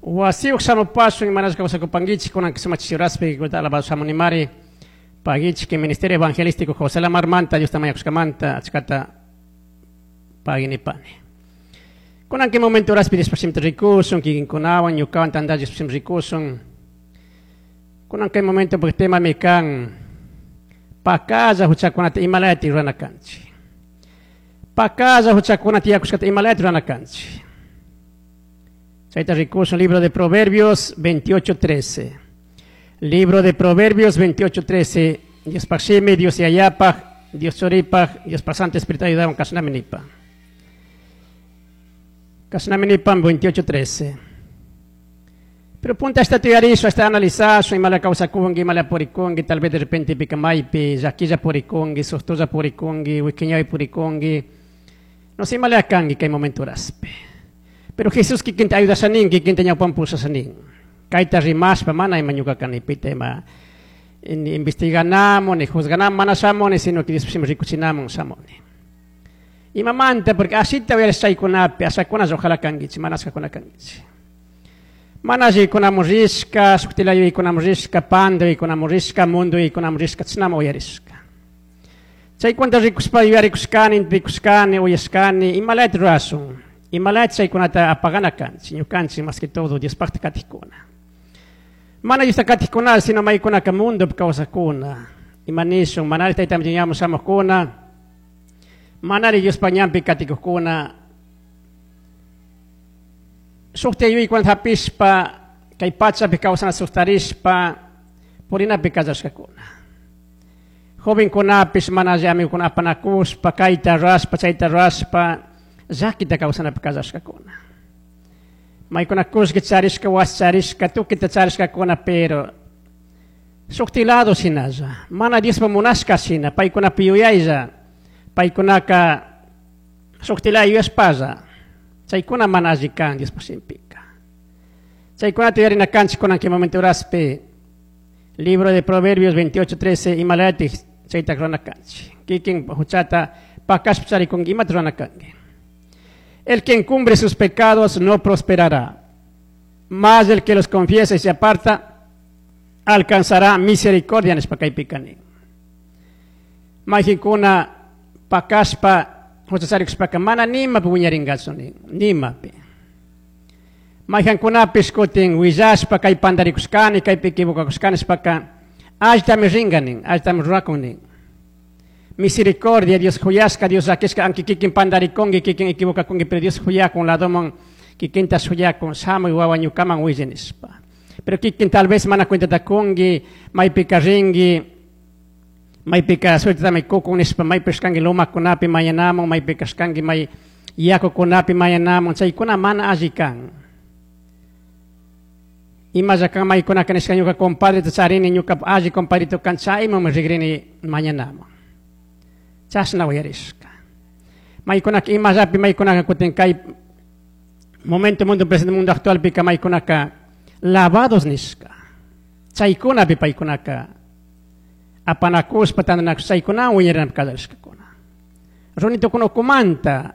Wasiyuq shamupasun, imarashka kawsakupankichik, kunan sumaq chishi horaspi alabado shamunimari pagichik Ministerio Evangelístico José Lamarmanta, Diosta mañakushkamanta achkata paginipani. Kunan kay momento horaspi Diospa shimita rikushun, kikinkunawan ñukawan tandalla Diospa shimita rikushun. Kunan kay momento porque temami kan pakalla huchakunata imalayati rurana kanchik. Pakalla huchakunata tiyakushkata imalayati rurana kanchik. Chayta rikushun libro de Proverbios 28:13. Libro de Proverbios 28:13. Diospaj shimi, Dios Yayapaj, Dios Churipaj, Diospaj Santo Espíritu ayudawan kashnami nipa. Kashnami nipa 28:13. Pero punta esta tuyarizo, esta analizar, imala kawsakunki, imala purikunki, tal vez de repente pika maypi, llaquilla purikunki, sustulla purikunki, wikiñawi purikunki. No sé, imala kanki kay momento raspe. Pero Jesús kikinta ayudashanin, kikinta ñawpan pusashanin. Kayta rimashpa mana ima ñuka kanipita ima ni investiganamo, ni juzganamo, mana shamoni, sino que Dios rikuchinamun shamoni. Imamanta, porque asita uyarishchaykunapi, ashakuna ojalá kankichik, mana ashakuna kankichik. Mana yaykunamun rishka, shuktilayo yaykunamun rishka, pando yaykunamun rishka, mundo yaykunamun rishka, chishnama uyarishka. Chaykunata rikushpa yuyarikushkani, rikushkani, uyashkani, imalayta rurashun. Imalayta chaykunata apagana kanchik, ñukanchik más que todo Diospajta katikuna. Mana Diosta katikuna, sino maykunaka mundopi kawsakuna. Ima nishun, manari tayta ñamun shamukuna, manari Diospa ñanpi katikukuna. Sukta yuyaykunata hapishpa, kay pachapi kawsana suktarishpa, purinapi kallashkakuna. Jovenkunapish mana alli amigokuna apanakushpa, kayta rurashpa, chayta rurashpa, llakita kawsanapi kallashkakuna. Maykuna kullki charishka, wasi charishka, tukita charishkakuna, pero shukti lado shinalla, mana Diospa munashka shina, paykunapi yuyaylla, paykunaka shukti lado yuyashpalla, chaykuna mana alli kan Diospa shimpika. Chaykunata yuyarina kanchik kunan kay momento horaspi, libro de Proverbios 28:13, imalayatik chayta rurana kanchik. Kikin huchata pakashpa charikunki, imata rurana kanki. El que encumbre sus pecados no prosperará, mas el que los confiesa y se aparta alcanzará misericordia nishpa kaypika nin. Mayqinkuna pakashpa huchacharikushpaka mana nimapi wiñarinkachu nin, nimapi. Mayqankunapish kutin willashpa kay pandarikushkani, kaypi equivocakushkani nishpaka allitami rinka nin, allitami rurakun nin. Misericordia, Dios huyashka, Dios llakishka, aunque kikin pandarikunki, kikin equivocakunki, pero Dios huyakun ladoman, kikinta huyakun, shamuy wawa ñukaman willa nishpa. Pero kikin tal vez mana cuentata kunki, maypika rinki, maypika suertetami kukun nishpa, maypi kashkanki lumakunapi mañanamun, maypi kashkanki may yakukunapi mañanamun, chaykuna mana alli kan. Imalla kan maykunaka nishka ñuka compadreta charini, ñuka alli compadrito kan, chaymanmi rigrini mañanamun. Chashna uyarishka. Maykunaka imallapi maykunaka kutin kay momento mundo presente mundo actual pika maykunaka lavados nishka. Chaykunapi paykunaka apanakushpa tandanakushpa chaykuna wiñarinapi kallarishkakuna. Runitukuna ukumanta